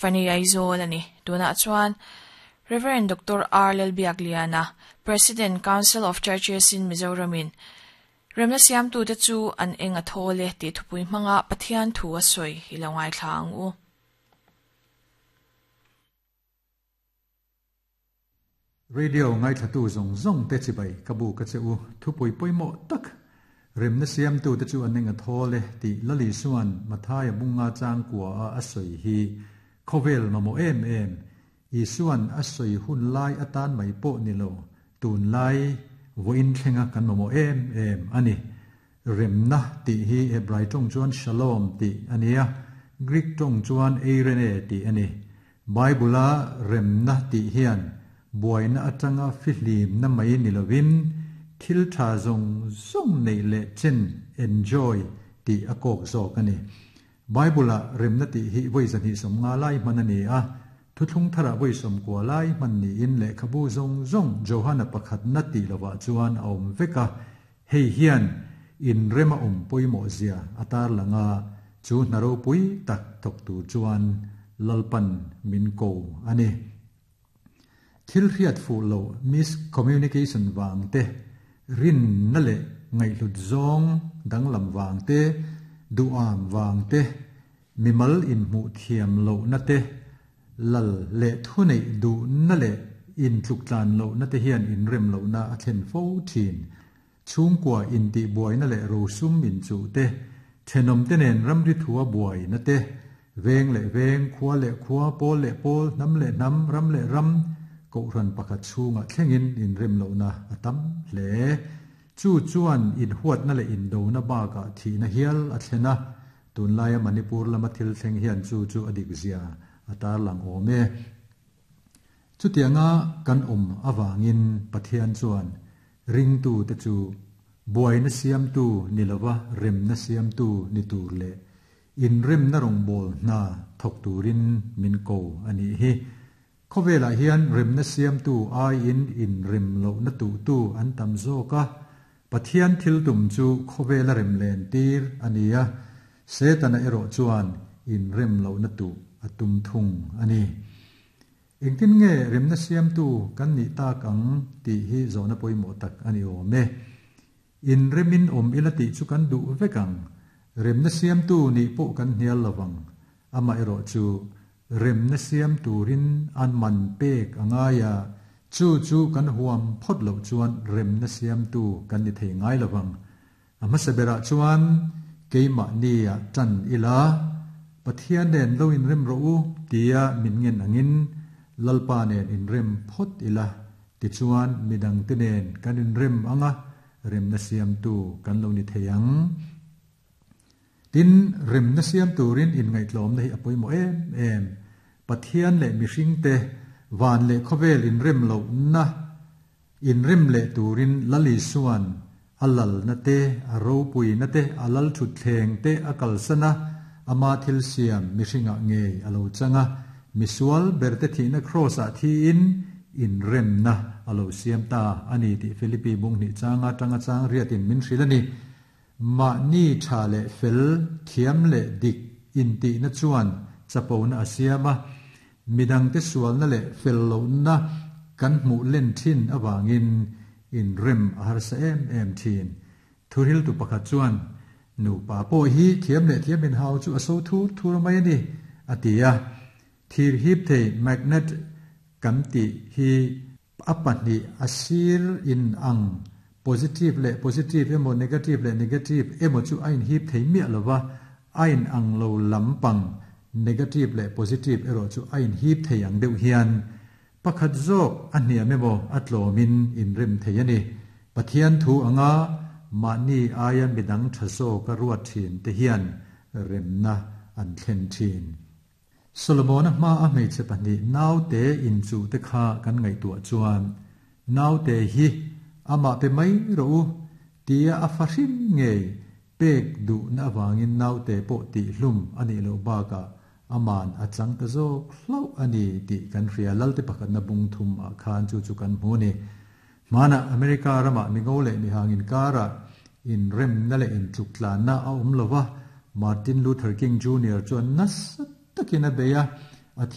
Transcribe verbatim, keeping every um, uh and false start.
Fani Aizawl ani. Tunah chuan Reverend Doctor R. Lalbiakliana, President, Council of Churches in Mizoram-in remna siamtute chu an eng a thawl e tih thupui hmanga Pathian thu a sawi i lo ngaithla ang u. Radio ngaithlatu zawng zawng te chibai ka bu ka che u thupui pawimawh tak remna siamtute chu an eng a thawl e tih Lali Suan Mathaia bunga changkua a a sawi hi khawvel mamawh em em Isuan a sawi hun lai atan mai pawh ni lo tun lai vawiin thlenga kan mamawh em em ani. Remna tih hi Hebrai tawng chuan shalom tih ania, Greek tawng chuan eirene tih ani. Bible-a remna tih hian buaina atanga fihlim na mai ni lovin thil tha zawng zawng nei leh chen enjoy tih a kawk zawk ani. Bible-a remna tih hi vawi zahnih sawm nga lai hman ani a, thuthlung thara vawi sawm kua lai hman niin lehkhabu zawng zawng Johana pakhat na tih lovah chuan a awm vek a, hei hian in rema awm pawimawh zia a tar langa chu hna ropui tak thawk tur chuan Lalpan min ko ani. Thil hriat fuh lo miscommunication wang te, rin na leh ngaihhlut zawng danglam wang te, duam wang te, mimal in hmuh thiam lo na te, lal leh thu nei du na leh in tluk tlan lo na te hian in rem lo na a thlen fo thin. Chhungkua in tih buai na leh rosum in chu te, thenawm te nen ramri thua buai na te, veng leh veng, khua leh khua, pawl leh pawl, hnam leh hnam, ram leh ram, kohhran pakhat chhungah thlengin in rem lo na a tam hle. Chu chuan in huat na leh in do na bakah thi na hial a thlena, tunlaia Manipur lama thil thleng hian chu chu a dik zia a tar lang awm e. Chutianga kan awm awangin Pathian chuan ringtu te chu buai na siamtu ni lova rem na siamtu ni tur leh in rem na rawng bawl hna thawk turin min ko ani hi. Khawvelah hian rem na siamtu aiin in rem lo na tu tu an tam zawk a, Pathian thil tum chu khawvela rem len tir ania, Setana erawh chuan in rem lo na tu a tum thung ani. Engtin nge rem na siamtu kan ni tak ang tih hi zawhna pawimawh tak ani awm e. In remin awm ila tih chu kan duh vek ang, rem na siamtu ni pawh kan hnial lovang, ama erawh chu rem na siam turin an man pek angaya, chu chu kan huam phawt lo chuan rem na siamtu kan ni thei ngai lovang. A hmasa berah chuan keimah nia tan ila, Pathian nen lo in rem ro u tia min ngen angin Lalpa nen in rem phawt ila, ti chuan midang te nen kan in rem anga rem na siamtu kan lo ni thei ang. Tin rem na siam turin in ngaihtlawm na hi a pawimawh em em. Pathian leh mihring te van leh khawvel in rem lo na in rem leh turin Lali Suan a lal na te, a ropui na te, a lal thut thleng te a kalsana, ama thil siam mihringa ngei a lo changa, misual berte thihna cross ah thi in in rem na a lo siam ta ani tih Philippi bung hnih changa tanga chang riatin min hril ani. Ma ni tha leh fel thiam leh dik in tih na chuan chapo na a siama, midang te sual na leh fel lo na kan hmuh len thin awangin in rem a harsa em em thin. Thuril tu pakhat chuan nu pa pawh hi thiam leh thiam in hau chu a so thur thur mai ani atia. Thir hip thei magnet kan ti hi a pahnih a sir in ang positive leh positive emaw negative leh negative emaw chu a in hip thei miah lova, a in ang lo lampang negative leh positive erawh chu a in hip thei ang deuh hian pakhat zawk a hniam emaw a tlawmin in rem thei ani. Pathian thu anga mahni aia midang tha zawk a ruat thin te hian remna an thlen thin. Solomon-a hma a hmeichhe pahnih nau te in chu te kha kan ngaihtuah chuan nau te hi amah pe mai ro u tia a fahrim ngei pek duh na awangin nau te pawh tih hlum ani lo bakah aman a chang ta zawk hlau ani tih kan hria. Lal te pakhat na bung thum ah khan chu chu kan hmu ni. Mana America rama mingo leh mihangin kara in rem na leh in tluk tlan na a awm lova, Martin Luther King Junior chuan nasa takin a beia,